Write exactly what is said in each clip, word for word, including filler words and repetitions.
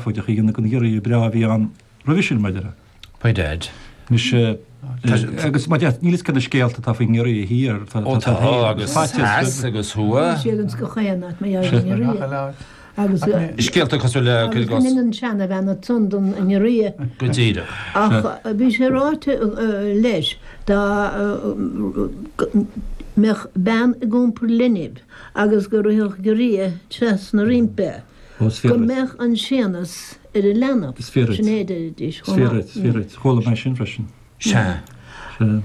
seafóideach a dhéanamh den ghiorria breá a bhí ann roimhe sin, mar a déarfá. By dad. Anois, agus mar a déarfá, níl a fhios cé na scéalta atá faoin ngiorria thiar, tá, Ó tá, tá, agus theas agus thuaidh. Bhí siad ins gach aon áit mar gheall ar an ngiorria. Agus, Scéalta cosúil le agus go ndeineann an seanabhean ansan don ngiorria. Go díreach. Ach bhí sé ráite leis dá mbeadh bean ag iompar linbh agus go rithfeadh giorria trasna roimpi, go mbeadh an séanas ar an leanbh. Is fíor duit. Sin é a deiridís Is chomh fíor maith. duit, is fíor duit. Chuala mé sin freisin. Sea.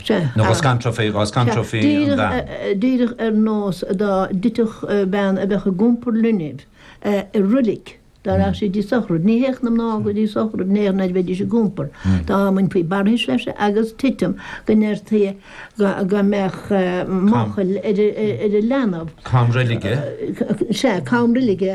Sea. Nó dhá scanrófaí, dhá scanrófaí an bhean. Díreach ar nós dá dtitfeadh bean a bheadh ag iompar linbh i roilig, dá rachadh sí dtí sochraid. Ní théadh na mná go dtí sochraid in aon chor nuair a bheidís ag iompar. Dá mbainfí barrthais leis agus titim go ndeirtí go mbeadh máchail ar an leanbh. Cam roilige? Sea, cam roilige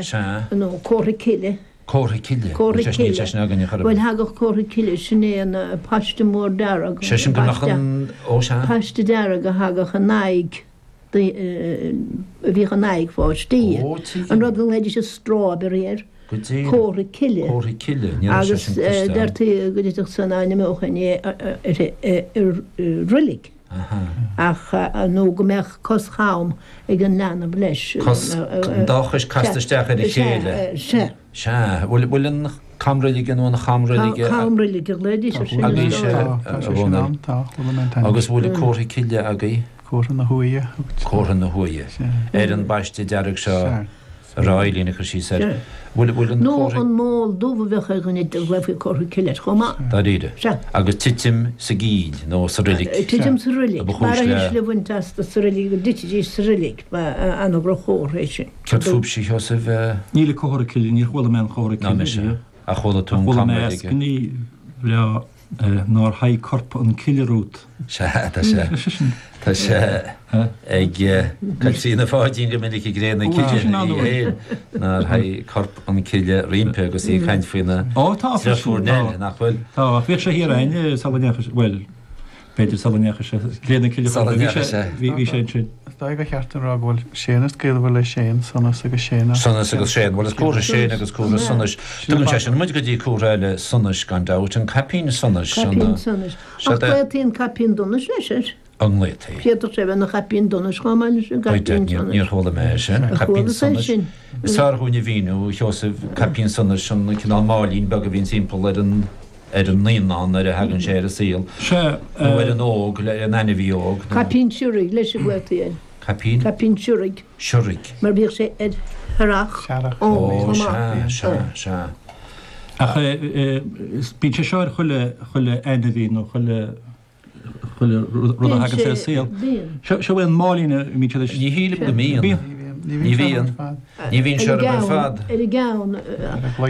nó comhartha cille. Comhartha cille? Comhartha Níl cille. sé sin againn a chur Bhuel, thagadh comhartha cille, sin é an paiste mór dearg. Sé sin go mbeadh an, ó sea. Paiste dearg a thagadh in aghaidh, a bhíodh in aghaidh pháistí. Ó, tuigim. An rud go nglaoidís an strawberry air. Go díreach. Comhartha cille. Comhartha cille, ní raibh sé Agus sin cloiste agam. deirtí go dtitfeadh san dá n-imeodh aon ní uirthi i roilig. Aha. Ach, nó go mbeadh cos cham ag an leanbh leis. Cos, an dá chois casta isteach ar a chéile. Sea, sea. Sea. Bhfuil, bhfuil an camroilige nó an chamroilige. Camroilige a ghlaoidís ar sin. Agaibhse, Tá, tá a sé sin Dhónaill. ann, tá, chuala mé an t-ainm. Agus bhfuil an comhartha cille agaibh? Comhartha na huaighe. Comhartha na huaighe. Sea. Ar an bpaiste dearg seo. Sea. A raibh Eileen ag cur síos air. Bhfuil, bhfuil an Nó comhartha. an mol dubh a bheadh ar dhuine dá nglaofaí comhartha cille air chomh maith. Dáiríre. Sea. Agus titim sa gcill nó sa roilig. Titim sa roilig. A ba chúis le. Barraithe le bhaint astu sa roilig go dtitfidís sa roilig. Ba an-dhroch-chomhartha é sin. Céard fúibhse, a Sheosaimh? Níl an comhartha cille, níor chuala mé an comhartha Ná cille mise. riamh. Ach chuala tú an Chuala mé camroilige. eascainí bhreá nár shuigh corp an cille romhat. Sea, tá sé, tá sé ag Caitríona Pháidín go minic i gCré na Cille í féin, nár shuigh corp an cille roimpi agus í ag caint faoina deirfiúr Nell, nach bhfuil? Tá, ach bhíodh sé thiar againn sula ndeachaigh sé, bhuel, b'fhéidir sula ndeachaigh sé, Cré na Cille, Sula bhí ndeachaigh sé, sé. bhí sé ansin. Is dóigh gur cheart a rá go bhfuil Séanas gaolmhar le Séan, Sonas agus Séan. Sonas agus Séan. Bhuel, is comhartha Séin agus comhartha Sonais. Tugann sé sin muid go dtí comhartha eile sonais gan dabht, an caipín sonais. Caipín sonais. Ach glaotaí an caipín donais leis air. An nglaotaí? D'fhéadfadh sé a bheith ina chaipín donais chomh maith leis an gcaipín sonais. Níor chuala mé é sin. Ar Caipín chuala tú é sonais. sin? Is fearr dhúinn a mhíniú, a Sheosaimh, caipín sonais, an cineál máilín beag a bhíonn timpeall ar an ar an naíonán nuair a thagann sé ar an saol, Sea. nó ar an óg, ar an ainmhí óg, nó. Caipín siorraidh leis a glaotaí air. Caipín? Caipín siorraidh. Siorraidh. Mar bhíodh sé ar shearrach Searrach. ann Ó, chomh maith. sea, sea, sea. Ach bíonn sé seo ar chuile, chuile ainmhí nó chuile, chuile rud a thagann ar an saol. Seo, seo é an máilín a mbíonn siad Ní shílim go mbíonn. Bíonn. Ní bhíonn. Ní bhíonn sé orthu ar fad. Ar a gceann.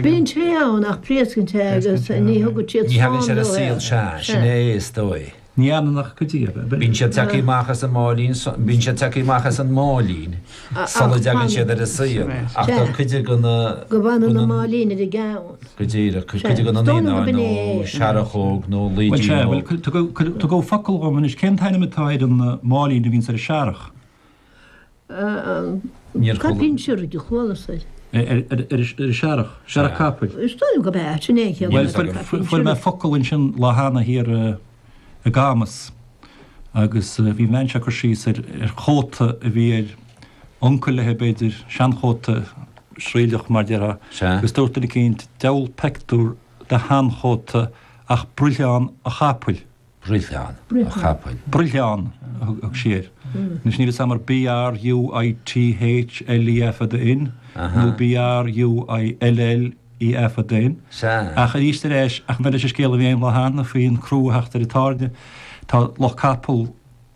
Bíonn sé ann ach pléascann sé agus ní thugann siad Ní thagann slán sé ar an leo é. saol, sea, sin é is dóigh. Ní fhanann ach cuid díobh, ab ea? Bíonn siad tagtha amach as an máilín, bíonn siad tagtha amach as an máilín sula dtagann siad ar an saol, ach tá cuid de na. Go bhfanann an máilín ar a gceann. Go díreach, cuid de na naíonáin nó searrachóg nó Bhuel, laoidín sea, óg. bhuel, tugadh focal dhom anois, cén t-ainm atá ar an máilín a bhíonns ar an searrach? Níor chuala. Caipín siorraidh a chualas air. Ar an searrach, searrach capaill. Is dóigh liom gurb ea, sin é an chéad Bhuel, rud, caipín fuair mé siorraidh. focal ansin lá cheana thiar i gCamas agus bhí an bhean seo ag cur síos ar chóta a bhí ar uncail léi, b'fhéidir, seanchóta sraoilleach mar déarfá, agus dúirt duine eicínt, diabhal peictiúr de sheanchóta ach bruithleán a' chapaill. Bruithleán a chapaill. Bruithleán a thug sí air. Anois níl fhios a'm ar B R U I T H L E A fada N nó B R U I L L E A fada N. Sea. Ach arís ar ais, ach maidir leis an scéal a bhí a'm lá cheana faoin chrú a theacht ar an tairne, tá lucht capall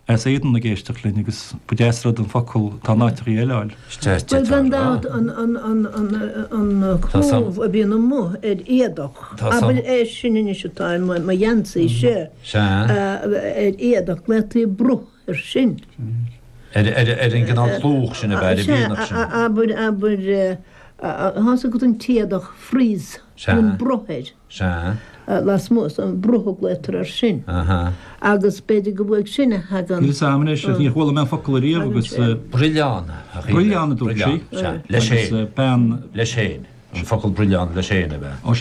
as Éadan ag éisteacht linn agus ba deas rud an focal atá in áiteachaí eile a fháil. Bhuel, gan dabht, an clúmh a bhíonn amuigh ar éadach, abair é sin anois atá ar mo gheansaí seo, ar éadach, glaotaí bruth air sin. Ar an gcineál clúmh sin ab ea, ar an mhianach sin. Abair, abair, Tá's agat an t-éadach frieze, bíonn bruth air. Sea. Lasmuigh, is an bruth a ghlaotar air sin. Agus b'fhéidir go uaidh sin a thagann. Níl 'fhios a'm anois, níor chuala mé an focal ariamh agus. Bruithleán, a Shíle. Bruithleán a dúirt sí. Sea, leis féin. Agus bean. Leis féin. An focal bruithleán leis féin, ab ea? Ó sea.